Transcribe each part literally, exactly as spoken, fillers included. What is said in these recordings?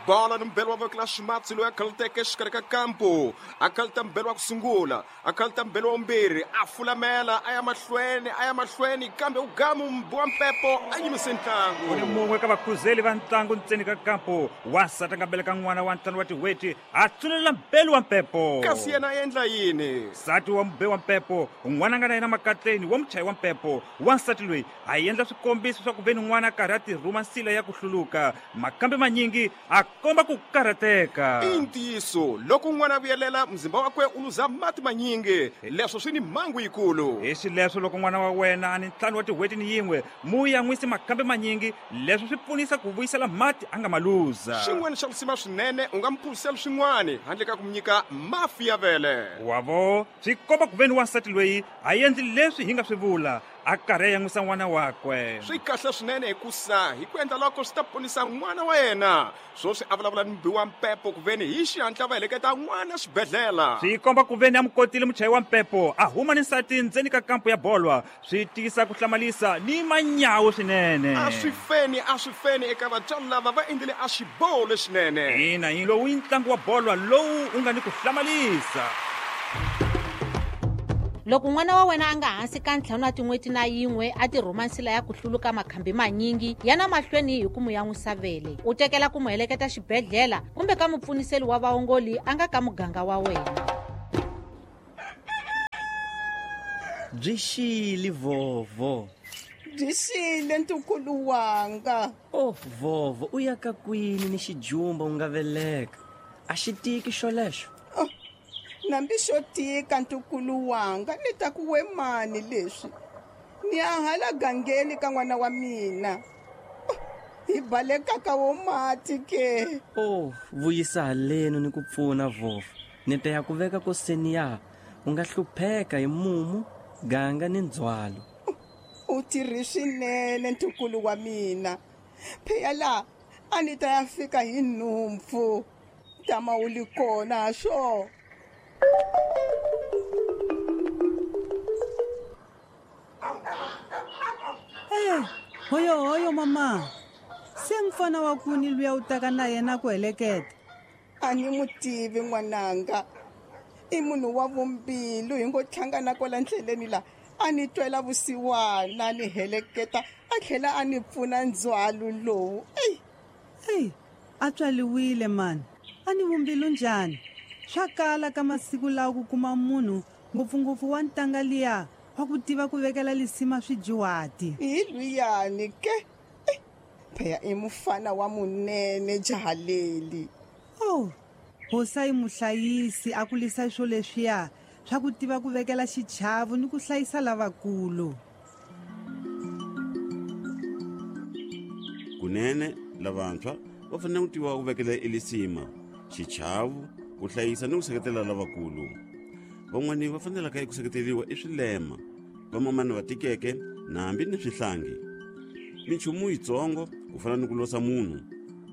Bola ni mbelo wa voko la ximatsi loyi a khaluteke exikarhi ka kampo. A khaluta mbelo wa ku sungula, a khaluta mbelo wa vumbirhi, a fulamela a ya mahlweni, a ya mahlweni, kambe u gamu mbi wa mpepo a yimise ntlangu. U ni mun'we ka vakhuzeli va ntlangu ntseni ka kampo. Wansati a nga beleka n'wana wa ntlhanu wa tin'hweti, a tsunelela mbelo wa mpepo. Kasi yena a endla yini? Nsati wa mube wa mpepo, n'wana a nga na yena makatleni wa muchayi wa mpepo. Wansati loyi a endla swikombiso swa ku ve ni n'wana a karhi a tirhuma nsila ya ku hluluka. Makambe manyingi a komba ku karhateka. I ntiyiso, loko n'wana a vuyelela muzimba wakwe u luza mati manyingi, leswo swi ni mhangu yikulu. Hi xileswo loko n'wana wa wena a ni ntlhanu wa tin'hweti ni yin'we, mu yan'wisi makambe manyingi, leswo swi pfunisa ku vuyisela mati a nga ma luza. Xin'wana xa risima swinene, u nga mu phuzisela swin'wana handle ka ku mu nyika mafi ya vele. Wavo, swi komba ku ve ni wansati loyi a endli leswi hi nga swi vula, a karhi a yan'wisa n'wana wakwe. Swi kahle swinene hikusa hi ku endla loko swi ta ponisa n'wana wa yena. Swoswi a vulavula ni mbi wa mpepo ku veni hi xihatla va heleketa n'wana xibedhlele. Swi komba ku veni a mu kotile muchayi wa mpepo, a huma ni nsati ndzeni ka kampo ya bolwa. Swi tiyisa ku hlamalisa ni manyawu swinene. A swi feni, a swi feni eka vatswari lava va endlile a xiboho lexinene. Ina, hi lowu i ntlangu wa bolwa lowu u nga ni ku hlamalisa. Loko n'wana wa wena a nga hansi ka ntlhanu wa tin'hweti na yin'we a tirhuma nsila ya ku hluluka makhambi manyingi, yana mahlweni hi ku mu yan'wisa vele. U tekela ku mu heleketa xibedhlele kumbe ka mupfuniseli wa vaongoli a nga ka muganga wa wena. Byi xile vovo. Byi xile ntukulu wanga. Oh vovo, u ya ka kwini ni xijumba u nga veleka? A xi tiki xolexo? Oh, nambi xo tika ntukulu wanga, ni ta ku we mani leswi. Ni ya hala gangeni ka n'wana wa mina. Oh, hi baleka ka wo mati ke. Oh, vuyisa haleno ni ku pfuna vovo. Ni ta ya ku veka koseni ya, u nga hlupheka hi mumu, ganga ni ndzhwalo. U tirhi swinene ntukulu wa mina. Phela la a ni ta ya fika hi nhumpfu. Tama u li kona swo. Eh, hoyo hoyo mama. Se mfana wa kuni luya u taka na yena ku heleketa. A ni mu tivi n'wananga. I munhu wa vumbilu hi ngo hlangana kwala ndleleni la. A ni twela vusiwana ni heleketa, a tlhela a ni pfuna ndzhwalo lowu. Ey. Ey, a tswaliwile mani. A ni vumbilu njhani? Swa kala ka masiku lawa ku kuma munhu ngopfungopfu wa ntanga liya wa ku tiva ku vekela lisima swijiwati. Hi luyani ke. Phela i mufana wa munene jahaleli. Oh, hosa i muhlayisi a kulisa swo leswiya swa ku tiva ku vekela xichavo ni ku hlayisa lavakulu. Kunene lavantshwa va fanele ku tiva ku vekela elisima, xichavo, ku hlayisa ni ku seketela lavakulu. Van'wani va fanelaka eku seketeriwa i swilema, vamamani va tikeke na hambi ni swihlangi. Minchumu yitsongo ku fana ni ku losa munhu,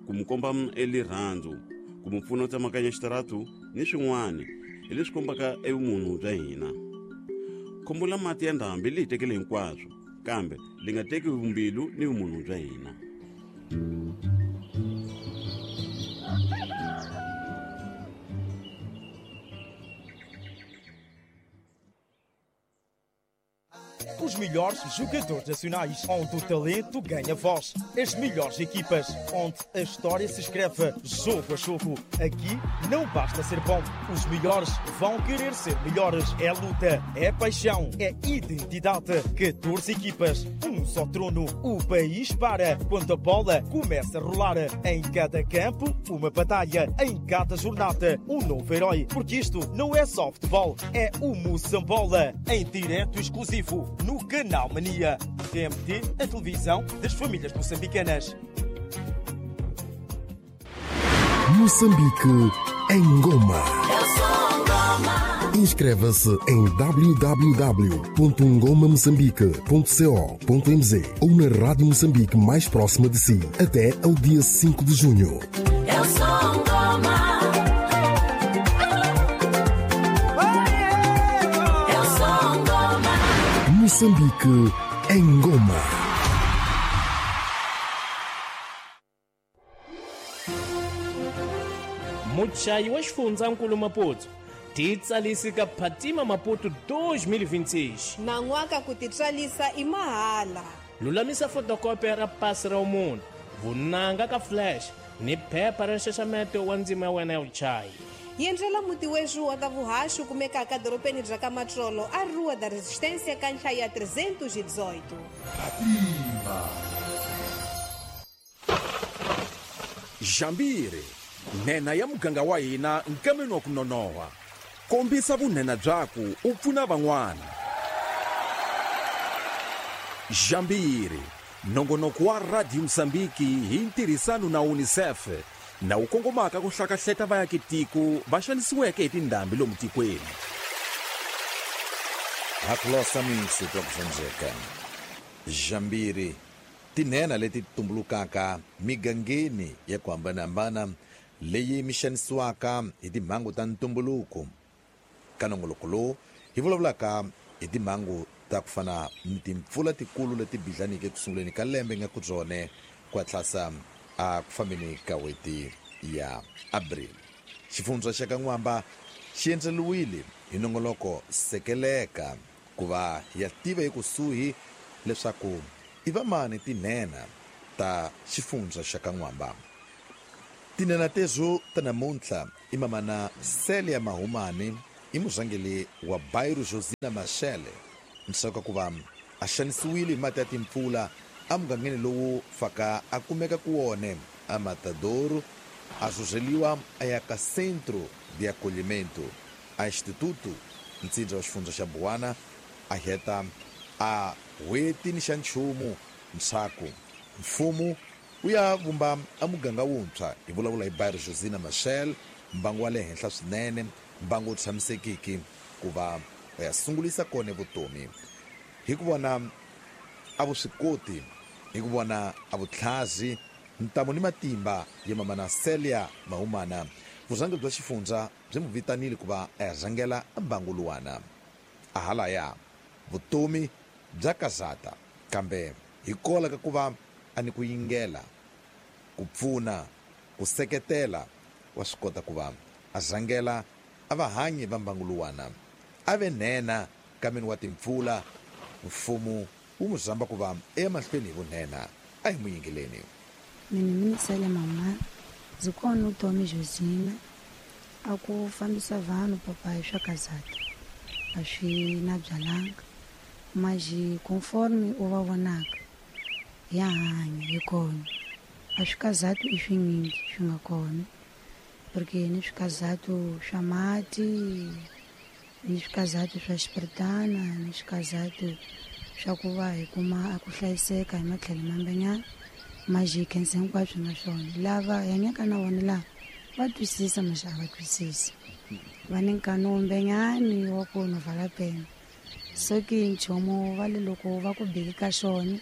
ku mu komba elirhandzu, ku mu pfuna u tsemakanya xitaratu ni swin'wana hi leswi kombaka evumunhu bya hina. Khombo la mati ya ndhambi li hi tekele hinkwaswo, kambe li nga teki vumbilu ni vumunhu bya hina. Os melhores jogadores nacionais, onde o talento ganha voz. As melhores equipas, onde a história se escreve jogo a jogo. Aqui não basta ser bom, os melhores vão querer ser melhores. É luta, é paixão, é identidade. catorze equipas, um só trono. O país para quando a bola começa a rolar. Em cada campo, uma batalha. Em cada jornada, um novo herói. Porque isto não é só futebol, é o Moçambola. Em direto exclusivo no Canal Mania. T M T, a televisão das famílias moçambicanas. Moçambique em Goma. Inscreva-se em w w w ponto ngoma moçambique ponto co ponto m z ou na Rádio Moçambique mais próxima de si até ao dia cinco de junho. Eu sou Ngoma. Eu sou Ngoma. Moçambique em Goma. Muchayi wa xifundzankulu Maputo titsalisi ka Phatima Maputo dois mil e vinte e seis. Nan'waka ku titswalisa i mahala. Lulamisa fotokopi ra pasi ra munhu, vunanga ka flash ni phepha ra nxaxameto wa ndzima ya wena ya vuchayi. Yendlela muti wexu wa ta vuhaxi wu kumekaka dorobeni bya ka Matsolo a Rua da Resistência ka nhlayo ya trezentos e dezoito. Phatima. Jambiri, nhenha ya muganga wa hina nkameni wa ku nonoha. Kombisa vunhenha byaku u pfuna van'wana. Jambiri, nongonoko wa Radio Mozambique hi ntirhisano na UNICEF na wu kongomaka ku hlakahleta vaakitiko va xanisiweke hi tindhambi lomu tikweni. Hakulosa mintsu twa ku Jambiri, tinhenha leti tumbulukaka migangeni ya ku hambanahambana leyi mi xanisiwaka hi timhangu ta ntumbuluko. Ka nongoloko lowu hi vulavulaka hi timhangu ta ku fana ni timpfula tikulu leti bidlanike ku sunguleni ka lembe nga ku byone ku hatlasa a ku fambeni ka n'hweti ya April. Xifundza xa ka N'wamba xi endzeriwile hi nongoloko sekeleka ku va ya tiva ekusuhi leswaku i vamani tinhenha ta xifundza xa ka N'wamba. Tinhenha tezo ta namuntlha i mamana Celia Mahumani, i murhangeri wa Bairro Josina Machel, ndzhaku ka ku va a xanisiwile hi mati ya timpfula emugangeni lowu faka a kumeka ku wone a Matadouro, a rhurheliwa a ya ka Centro de Acolhimento a Instituto ntsindza wa xifundza xa Buwana, a heta a n'hweti ni xa nchumu ndzhaku mfumo wu ya vumba a muganga wuntshwa. Hi vulavula hi Bairro Josina Machel, mbangu wa le henhla swinene, mbangu wu tshamisekiki ku va ya sungulisa kona vutomi. Hi ku vona a vuswikoti, hi ku vona a vutlhazi, ntamu ni matimba ya mamana Celia Mahumana, vurhangeri bya xifundza byi n'wi vitanile ku va a ya rhangela mbangu luwana. A halaya vutomi bya kazata, kambe hi kola ka ku va a ni ku yingela, ku pfuna, ku seketela, wa swi kota ku va a rhangela a vahanyi va mbangu luwana. A ve nhenha kameni wa timpfula, mfumo wu n'wi rhamba ku va emahlweni hi vunhenha. A hi n'wi yingeleni. Mina mi Celia Mahumana, ndzi kona utomi Josina a ku fambisa vanhu papayi swa kazata a swi na byalanga maji conforme u va vonaka ya hanya hi kona a swi kazatu i swinyingi swi nga kona porque ni swikazatu swa mati, ni swikazatu swa xipiritana, ni swikazatu swa ku va hi kuma a ku hlayiseka hi matlhelo mambenyana maji khensa hinkwaswo nga swona. Lava hi hanyaka na vona lava va twisisa maxa a va twisisi, va ni nkani wumbenyani wa ku no vala pena so ki nchumu va le loko va ku beki ka xona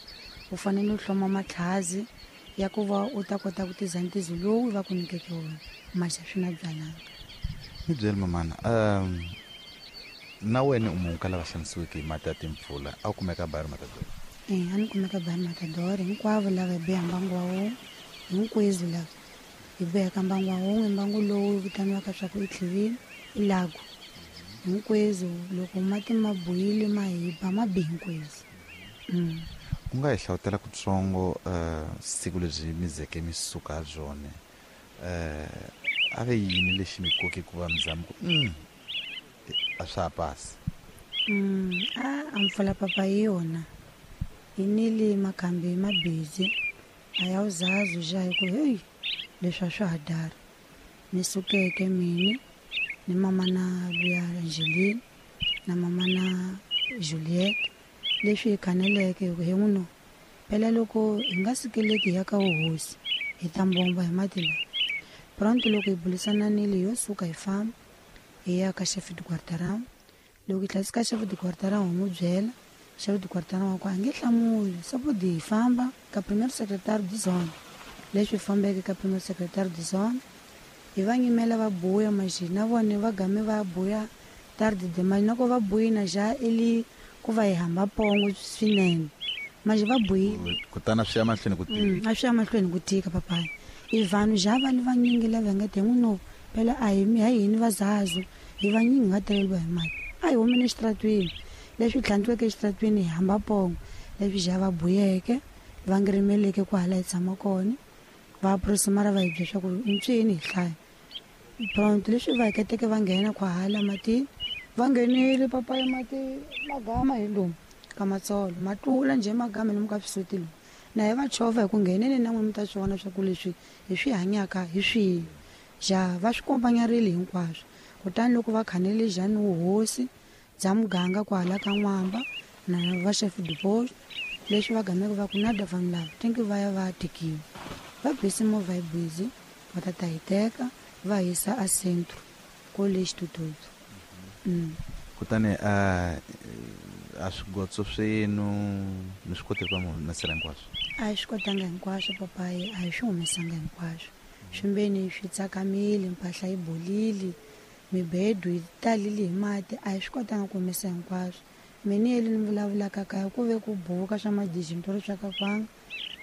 u fanele u hloma matlhazi ya ku va u ta kota ku tiza ntizo lowu va ku nyikeke wona maxa swi na byalanga. Ni byele mamana, um na wena u munhu ka lava xanisiweke hi mati ya timpfula, a wu kumeka Bairro Matador? E, a ni kumeka Bairro Matador. Hinkwavo lava hi biha mbangu wa wun'we, hinkwenu lava hi bihaka mbangu wa wun'we, mbangu lowu vitaniwaka swa ku i tlhivini i lago. Hinkwenu loko mati ma buyile ma hi ba ma bi hinkwenu. Mm. U nga hi hlawutela kutsongo uh, siku lebyi mi zeke mi suka ha byona, uh, a ve yini lexi mi koke ku va mi zama ku mm, a swa ha pasi? Mm, a a mpfula papa hi yona yi nile makhambi ma busy a ya uzazi ja hi ku heyi leswi a swa ha dara. Ni sukeke mini ni mama na luya Angeline na mama na Juliet leswi hi khaneleke hi ku he n'wino phela loko hi nga sukeleki hi ya ka vuhosi hi ta mbomba hi mati lawa. Pronto loko hi burisananile yo suka hi famba hi ya ka chef de quartier. Loko hi tlhela ka chef de quartier hi n'wi byela, chef de quartier wa ku a nge hlamuli sapodi hi famba ka premier secrétaire de zone. Leswi fambeke ka premier secrétaire de zone hi va nyimela va buya maxi na vona va game va buya tarde de manje na ko va buyi na ja ili ku va hi hamba pongo swinene manje va buyile kutani swi ya mahlweni ku tika. A swi ya mahlweni ku tika papayi. I vanhu ja va li vanyingi lava nga te n'wino Phela a hi mi a hini vazazu hi vanyingi nga teleriwa hi mati. A hi humeni exitaratweni leswi tlhantlweke exitaratweni hi hamba pongo leswi ja va buyeke va ngirimeleke kwahala hi tshama kona va aproximara va hi byela swa ku ntswini hi hlaya. Pronto leswi va heketeke va nghena kwahala matini va nghenile papa ya mati magama hi lomu ka matsolo ma tlula njhe magama lomu ka swisuti lomu na hi va chovha hi ku ngheneni na n'we mi ta swi vona swa ku leswi hi swi hanyaka hi swihi. Ja va swi kompanyarile hinkwaswo kutani loko va khanele jani wuhosi bya muganga kwahala ka N'wamba na va chef de poste leswi va gameke va ku nada vanhu lava tinki va ya va tekiwa va bisi movha yi busy va ta ta hi teka va yisa a centro college tututu. Mm. Kutani a a swigotso swenu mi swi kote ku va mi humesela hinkwaswo? A hi swi kotanga hinkwaswo papayi, a hi swi humesanga hinkwaswo. Swimbeni swi tsakamile, mpahla yi bolile, mibedo yi talile hi mati, a hi swi kotanga ku humesa hinkwaswo. Mina yeli ni vulavulaka kaya ku ve ku buka swa madijintoro swa ka kwanga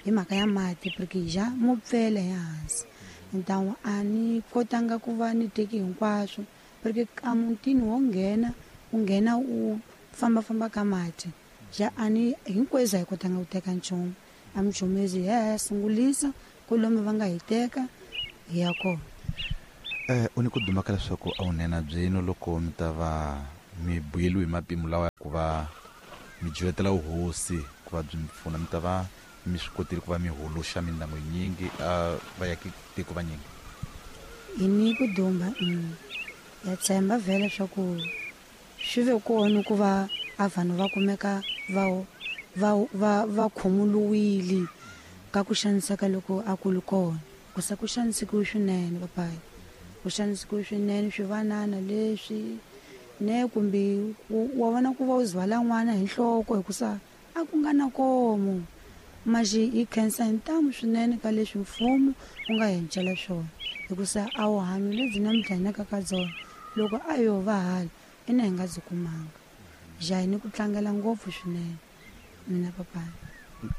hi mhaka ya mati porque ja mo pfela ehansi. Então a ni kotanga ku va ni teki hinkwaswo porque a mutini wo nghena u nghena u fambafamba ka mati ja a ni hinkwenu a hi kotanga ku teka nchumu. A mi hi ya sungulisa ku lomu va nga hi teka hi ya kona. Eh u ni ku duma ka leswaku a wu nena byenu loko mi ta va mi buyeliwe hi mapimo lawa ya ku va mi jivetela vuhosi ku va byi mi pfuna mi ta va mi swi kotile ku va mi holoxa mindyangu yinyingi a va yaki tiko vanyingi? Hi ni ku dumba ya tshemba vhele swa ku swi ve kona ku va a vanhu va kumeka va va va va khomuluwile ka ku xaniseka loko a ku ri kona. Ku sa ku xanisekiwe swinene papayi, ku xanisekiwe swinene swivanana leswi ne kumbe wa vona ku va u zwala n'wana hi nhloko hikusa a ku nga na komo. Maxi hi khensa hi ntamu swinene ka leswi mfumo wu nga hi encela swona hikusa a wu hanyo lebyi namuntlha hi naka ka byona loko a yo va hala ina hi nga byi kumanga. Ja hi ni ku tlangela ngopfu swinene mina papayi.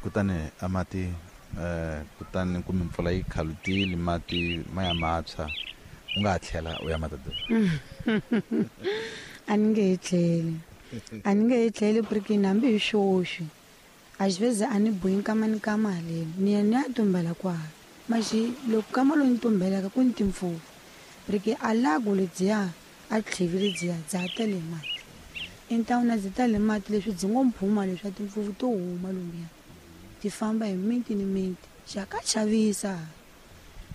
Kutani a mati eh kutani kumbe mpfula yi khalutile mati ma ya matshwa u nga ha tlhela u ya matadeni? A ni nge he tlheli, a ni nge he tlheli porque hambi hi xoxi às vezes a ni buyi nkama ni kama haleni ni ya ni ya tumbela kwahala maxi loko kama lowu ni tumbelaka ku ni timpfuvu porque a lago lebyiya a tlhivi lebyiya bya ha tele hi mati. Então na byi tale hi mati leswi byi ngo mphuma leswi a timpfuvu to huma lomuya ti famba hi miti ni miti xa ka chavisa.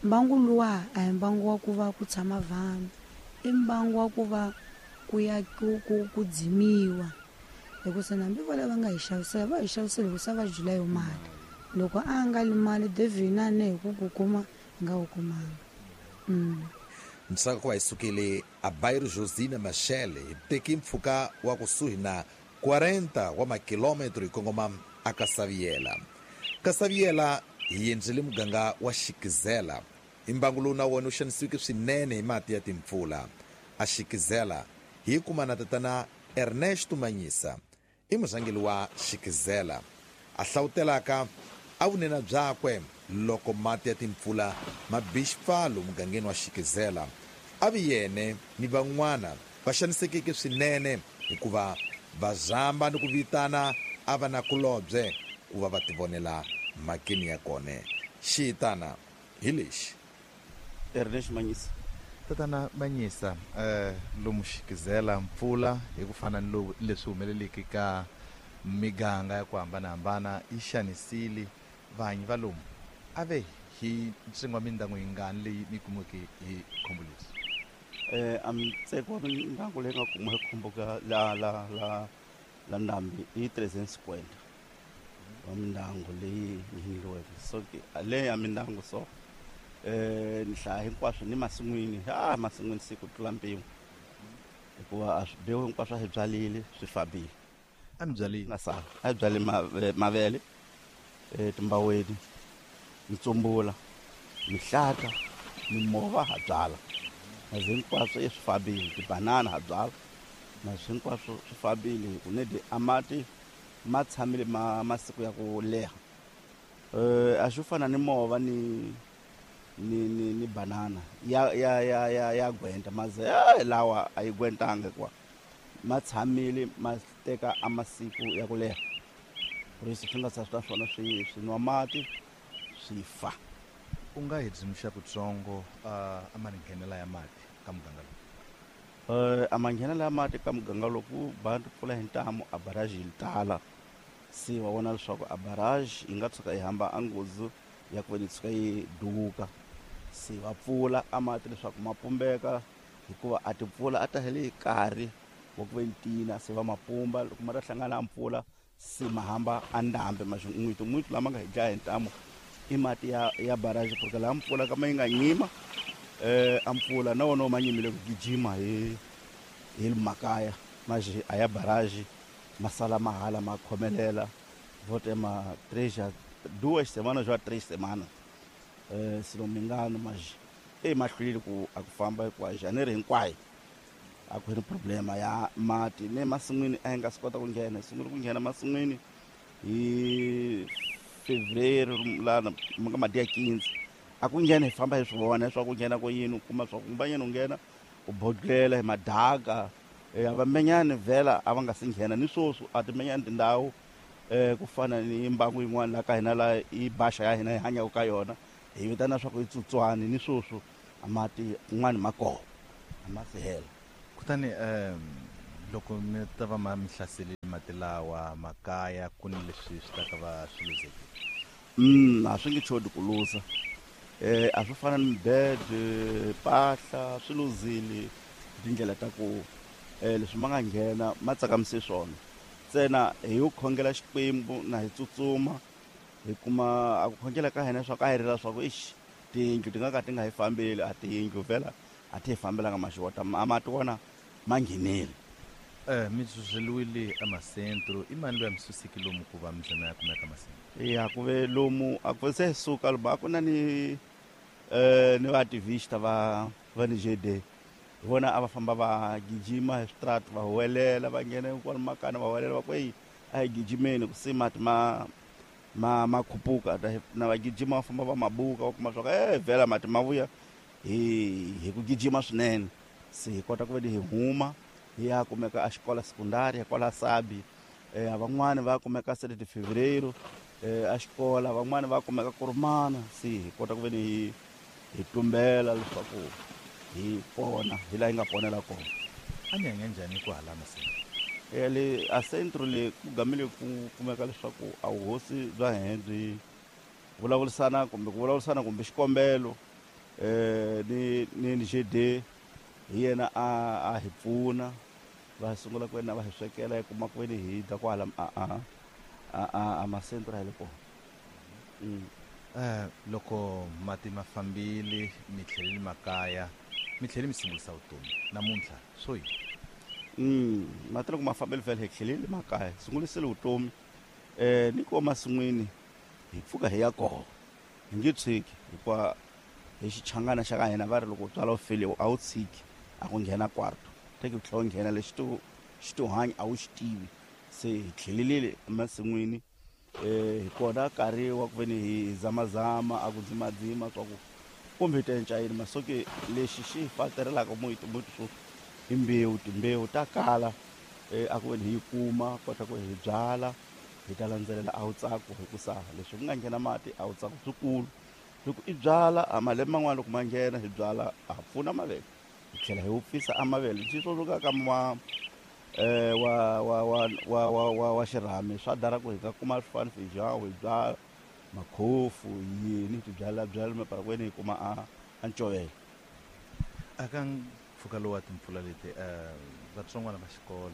Mbangu luwa a hi mbangu wa ku va ku tshama vanhu, i mbangu wa ku va ku ya ku ku ku dzimiwa hikusa hambi vo lava nga hi xavisela va hi xavisela hikusa va jula yo mali. Loko a nga li mali devhina ne hi ku ku kuma hi nga wu kumanga. Mm. Ntsaka ku va hi sukile a bairro Josina Machel hi teki mpfhuka wa kusuhi na quarenta wa makilometro hi kongoma a Kasaviela. Kasaviela hi endzele muganga wa Xikizela. I mbangu lowu na wona wu xanisiweke swinene hi mati ya timpfula. A Xikizela hi kuma na tatana Ernesto Manyisa i murhangeri wa Xikizela a hlawutelaka a vunena byakwe loko mati ya timpfula ma bi xipfalo mugangeni wa Xikizela. A vi yene ni van'wana va xanisekeke swinene hikuva va zamba ni ku vitana a va nakulobye ku va va tivonela mhakeni ya kona. Xiyitana hi lexi. Ernest Manyisa. Tatana Manyisa, eh lomu Xikizela mpfula hi ku fana ni lowu leswi humeleleke ka miganga ya ku hambanahambana yi xanisile vahanyi va lomu. A ve hi ntsengo wa mindyangu yingani leyi mi kumiweke hi khombo leswi? Eh a ntsengo wa mindyangu leyi nga kumiwa hi khombo ka la la la la ndhambi i trezentos cinquenta wa mindyangu leyi ngheniweke. So ke leyi ya mindyangu so eh ni hlaya hinkwaswo ni masin'wini, ah masin'wini siku tlula mpimo hikuva a swibewu hinkwaswo a hi byalile swi fambile. A mi byalile? Nga sala a hi byale mavele, eh timbaweni, mitsumbula, mihlata, mimova ha byala na hinkwaswo swi fambile, tibanana ha byala na hinkwaswo swi fambile hi ku nedi a mati ma tshamile ma masiku ya ku leha. Eh a swi fana ni mova ni ni ni ni banana ya ya ya ya ya gwenta maze eh, lawa a yi gwentanga hikuva ma tshamile ma teka a masiku ya ku leha ku ri swi nga swa swona swi swi nwa mati swi fa. U nga hi dzimixa kutsongo uh, a manghenela ya mati ka muganga lowu? Eh, a manghenela ya mati ka muganga lowu ku ba mpfula hi ntamu a barrage yi tala, se wa vona leswaku a barrage yi nga tshuka yi hamba a nghozi ya ku ve ni tshuka yi duka, se va pfula a mati leswaku ma pumbeka hikuva a timpfula a ta hele hi nkarhi wa ku ve ni tina, se va ma pumba loko ma ta hlangana a mpfula se ma hamba a ndhambi maxin'witi n'witi lama nga hi dlaya hi ntamu i mati ya ya barrage porque laha mpfula kama yi nga nyima eh a mpfula na wona ma nyimile ku gijima hi hi makaya maji a ya barrage masala mahala ma khomelela vote ma três duas semanas já três semanas eh se não me engano, mas e mahlwile ku a ku famba hikuva janeiro hinkwayo a ku ri problema ya mati ne masin'wini a yi nga swi kota ku nghena, sungule ku nghena masin'wini hi fevereiro lana ma nga madi ya quinze a ku nghena hi famba hi swi vona leswaku nghena ko yini u kuma swa ku mbanyana u nghena u bodlela hi madaka eh vamenyani vhela a va nga si nghena ni sweswi a timenyani tindhawu eh ku fana ni mbangu yin'wana la ka hina la i baxa ya hina hi hanyaka ka yona hi vitana swa ku i tsutswani ni sweswi a mati kun'wana ma kona a ma si hela. Kutani um loko mi ta va ma mi hlaselile mati lawa makaya ku ni leswi swi ta ka va swi luzekile? Mm a swi nge chodi ku luza eh a swi fana ni mibede mpahla swi luzile tindlela ta ku eh leswi ma nga nghena ma tsakamise swona ntsena hi ku khongela Xikwembu na hi tsutsuma hi kuma a ku khongela ka hina swa ku a hi rila swa ku ixi tiyindlu ti nga ka ti nga hi fambeli a tiyindlu vhela a ti hi fambelanga maxota a mati wona ma nghenile. Eh mi dzudzeliwile emasentro i mani loyi a mi suseki lomu ku va mi ya kumeka masentro? Ya ku ve lomu a ku se suka lomu a ku na ni eh ni vaactivista va va ni G D hi vona a va famba va gijima hi switrati va huwelela va nghena kwala makana va huwelela va ku eyi a hi gijimeni ku se mati ma ma ma khupuka na va gijima va famba va mabuka va kuma swa ku eh vhela mati ma vuya hi hi ku gijima swinene se hi kota ku ve hi huma hi ya kumeka a xikola sekundari kwala Sabi eh van'wani va kumeka sete de fevereiro eh a xikola van'wani va kumeka Kurumana se hi kota ku ve ni hi tumbela leswaku hi pona hi laha hi nga ponela kona. A mi hanya njhani ku hala masentro? Eh le a centro le ku gamile ku kumeka leswaku a vuhosi bya hina byi vulavurisana kumbe ku vulavurisana kumbe xikombelo eh ni ni G D hi yena a a hi pfuna va sungula ku wena va hi swekela hi kuma ku veni hi dya kwala a a a a masentro hi le kona. Mm. Eh loko mati ma fambile mi tlhelele makaya mi tlhele mi sungulisa vutomi namuntlha swo yini? Mm mati loko ma fambile vhele hi tlhelele makaya sungulisile vutomi eh ni ko masin'wini hi pfuka hi ya kona hi nge tshiki hikuva hi xichangana xa ka hina va ri loko u tswala u file a wu tshiki a ku nghena kwarto teki u tlhela u nghena lexi to xi to hanya a wu xi tivi se hi tlhelelile emasin'wini eh hi kona nkarhi wa ku ve ni hi zamazama a ku dzimadzima swa ku kumbe hi ta enca yini masoke lexi xi hi faterelaka muti muti swo i mbewu timbewu ta kala eh a ku ve ni hi yi kuma kota ku hi byala hi ta landzelela a wu tsako hikusa leswi ku nga nghena mati a wu tsako swikulu loko i byala a malembe man'wana loko ma nghena hi byala a pfuna mavele hi tlhela hi wupfisa a mavele xi sweswo ka ma eh wa wa wa wa wa wa wa xirhami swa dara ku hi nga kuma swifani feijão hi byala makhofu yini ti byala byala maparakwini hi kuma a a ncovela. Aka mpfhuka lowu wa timpfula leti eh vatsongwana va xikolo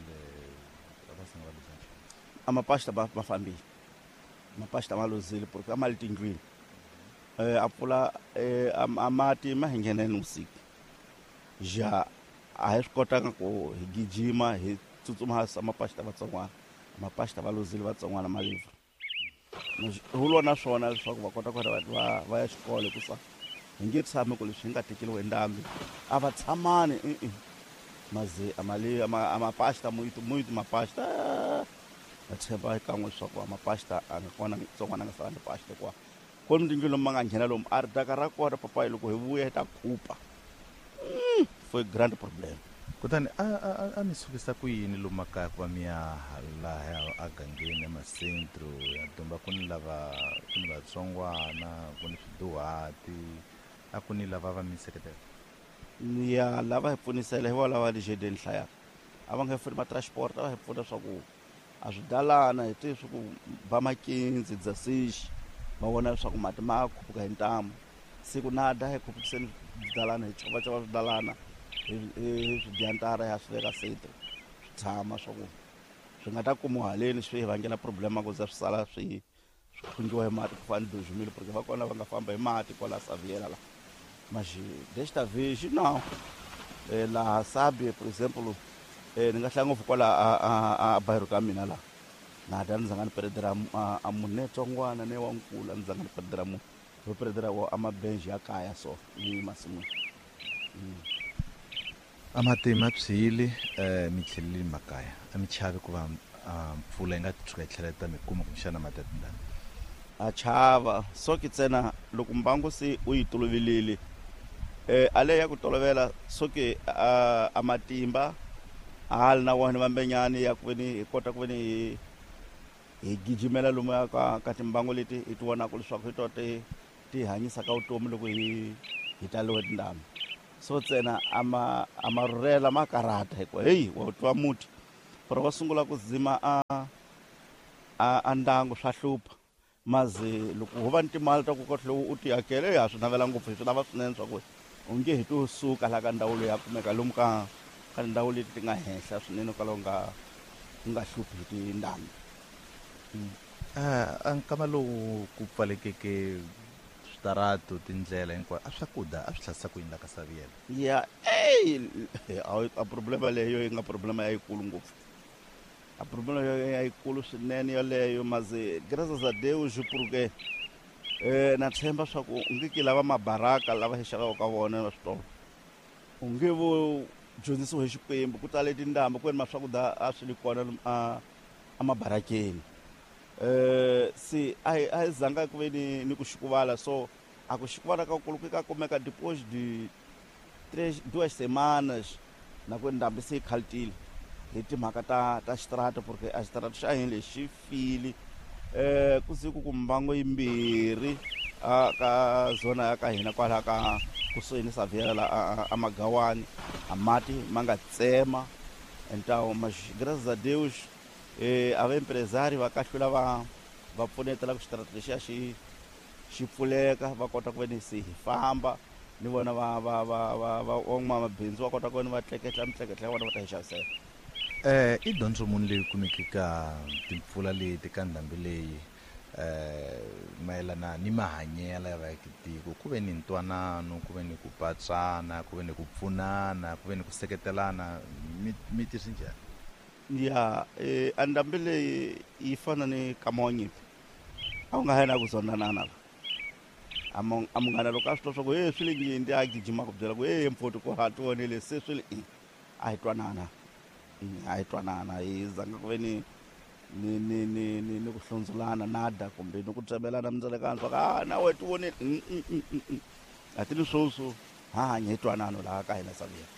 va sanga va luza nchumu? A mapasta va va fambile mapasta ma luzile porque a ma le tindlwini eh a pfula eh a mati ma hi nghena ni vusiku ja a hi swi kotanga ku hi gijima hi tsutsuma ha mapasta vatsongwana mapasta va luzile vatsongwana malivra hu lwa na swona leswaku va kota ku va va va ya xikolo hikusa hi nge tshami ku leswi hi nga tekeriwa hi ndhambi a va tshamani i-i maze a mali a mapasta muito muito mapasta va tshemba kan'we leswaku a mapasta a nga kona tsongwana a nga sala ni pasta hikuva Kona tindlu lomu ma nga nghena lomu a ri daka ra kona papayi loko hi vuya hi ta khupa. Mm, foi grande problema. Kutani a a a mi sukisa ku yini lomu makaya ku va mi ya laha a gangeni emasentro ya domba ku ni lava ku ni vatsongwana ku ni swiduhati a ku ni lava va mi seketela? Ya lava hi pfunisela hi vona lava lexedeni hlayaka a va nga hi pfuni ma-transport a va hi pfuna swa ku a swidalana hi tivi swa ku ba makinzi dzasixi va vona leswaku mati ma khuphuka hi ntamu siku na da hi khupukiseni swidalana hi chovachova swidalana hi hi swidyantara ya swi veka sete swi tshama swa ku swi nga ta kumiwa haleni swi hi vangela problema ku za swi sala swi swi khungiwa hi mati ku fana ni dois mil porque va kona va nga famba hi mati kwala Saviela la mas desta vez não. Eh, laha Sabi por exemplo eh, ni nga hlaya ngopfu kwala a, a, a bairro ka mina la na da ni zanga ni perdera a, a munhu ne tsongwana ne wa nkulu a ni zanga ni perdera munhu ho perdera wa a mabenji ya kaya so ni masin'wini. Mm. A mati ma phyile eh, mi tlheleli makaya a mi chavi ku va mpfula yi nga tshuka yi tlhela yi ta mi kuma kumbexana mati ya tindhambi? A chava so ke ntsena loko mbangu se u yi tolovelile eh ale ya ku tolovela so ke a, a matimba a ha li na wona vambenyani ya ku veni hi kota ku veni hi hi gijimela lomu ya ka ka timbangu leti hi ti vonaka leswaku hi to ti ti hanyisaka vutomi loko hi hi taliwe tindhambi so ntsena a ma a ma rhurhela ma karhata hikuva heyi wa twa muti pero va sungula ku dzima a a a ndangu swa hlupha maze loko ho va ni timali ta ku kahle u ti hakela ya swi navela ngopfu hi swi lava swinene swa ku u nge he to suka laha ka ndhawu leyi ya kumeka lomu ka ka tindhawu leti ti nga henhla swinene kwalaho nga ku nga hluphi hi tindhambi. A nkama lowu ku pfalekeke switaratu tindlela hinkwayo a swakudya a swi hlasisa ku yini la ka Saviela? Ya ey a problema leyo yi nga problema ya yikulu ngopfu a problema ya yikulu swinene yoleyo maze graças a Deus porque eh na tshemba swa ku nge ki lava mabaraka lava hi xavaka ka vona va switolo u nge vo dyondzisiwa hi Xikwembu ku tale tindhambi ku ri ma swakudya a swi li kona a a mabarakeni eh se a hi a hi zanga ku ve ni ni ku xikuvala so a ku xikuvala ka kulu ku ka kumeka depois de três duas semanas na ku ndhambi se yi khaltile hi timhaka ta ta xitarata porque a xitarata xa hina lexi fili eh ku siku ku mbango yimbirhi a ka zona ya ka hina kwala ka kusuhi ni Saviela la a Magawani a mati ma nga tsema então mas graças a Deus eh a va empresário va kahlula va va pfunetela ku xitarata lexiya xi xi pfuleka va kota ku ve ni se hi famba ni vona va va va va va van'wamabindzu va kota ku ve ni va tleketla mitleketla ya vona va ta hi xavisela. Eh i dyondzo muni leyi kumeke ka timpfula leti ka ndhambi leyi eh mayelana ni mahanyelo ya vaakitiko ku ve ni ntwanano ku ve ni ku patsana ku ve ni ku pfunana ku ve ni ku seketelana mi mi tirhisi njhani? Ya eh a ndhambi leyi yi fana ni kama wa nyimpi a wu nga ha na ku zondanana la a a munghana loko a swi twa swa ku he swi le ngindi a gijima ku byela ku he mfoti ku ha tivonele se swi le a hi twanana a hi twanana hi zanga ku ve ni ni ni ni ni ni ku hlundzulana nada kumbe ni ku tsemelana mindzelekano swa ku a na wena tivonele a ti ni swoswo ha hanya hi twanano laha ka hina Saviela.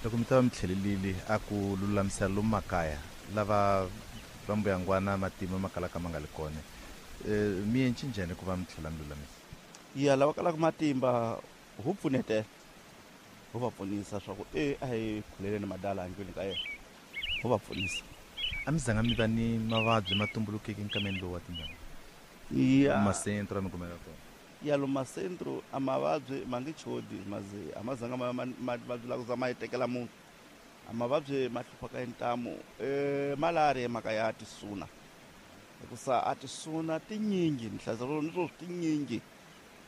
Loko mi ta va mi tlhelelile a ku lulamisela lomu makaya lava va mbuyangwana matima ma kalaka ma nga li kona mi endli njhani ku va mi tlhela mi lulamisa? Ya lava kalaka matimba ho pfunetela ho va pfunisa swa ku e a hi khuleleni madala endlwini ka yena ho va pfunisa. A mi zanga mi va ni mavabyi ma tumbulukeke nkameni lowu wa tindhambi? Ya masentro a mi kumeka kona? Ya lo masentro a mavabyi ma nge chodi maze a ma zanga ma mavabyi la ku za ma yi tekela munhu a mavabyi ma hluphaka hi ntamu eh malaria mhaka ya tisuna hikusa a tisuna tinyingi ni hlayisa ni swo tinyingi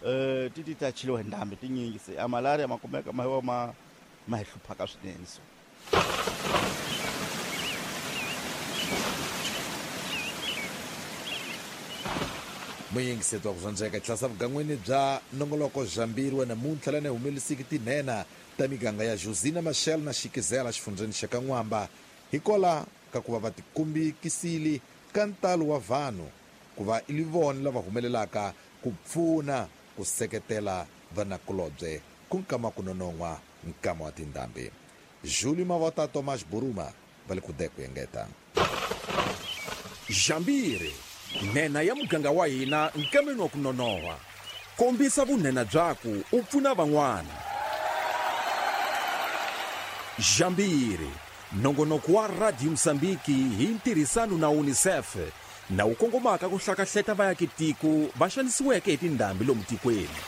eh ti ti ta cheliwa hi ndhambi tinyingi se a malaria ma kumeka ma wa ma ma hi hluphaka swinene so. Muyingiseti wa ku zwandzeka tlhasa vugangweni bya nongoloko Zhambiri wa namuntlha lana humelisiki tinhena ta miganga ya Josina Machel na Xikizela xifundzheni xa ka N'wamba hikola ka ku va va tikumbikisile ka ntalo wa vanhu ku va i vona lava humelelaka ku pfuna ku seketela vanakulobye ku nkama ku nonon'hwa nkama wa tindhambi. Júlio Mavota, Tomás Buruma va le ku deko engeta. Jambiri, nhenha ya muganga wa hina nkameni wa ku nonoha. Kombisa vunhenha byaku u pfuna van'wana. Jambiri, nongonoko wa Radio Mozambique hi ntirhisano na UNICEF na wu kongomaka ku hlakahleta vaakitiko va xanisiweke hi tindhambi lomu tikweni.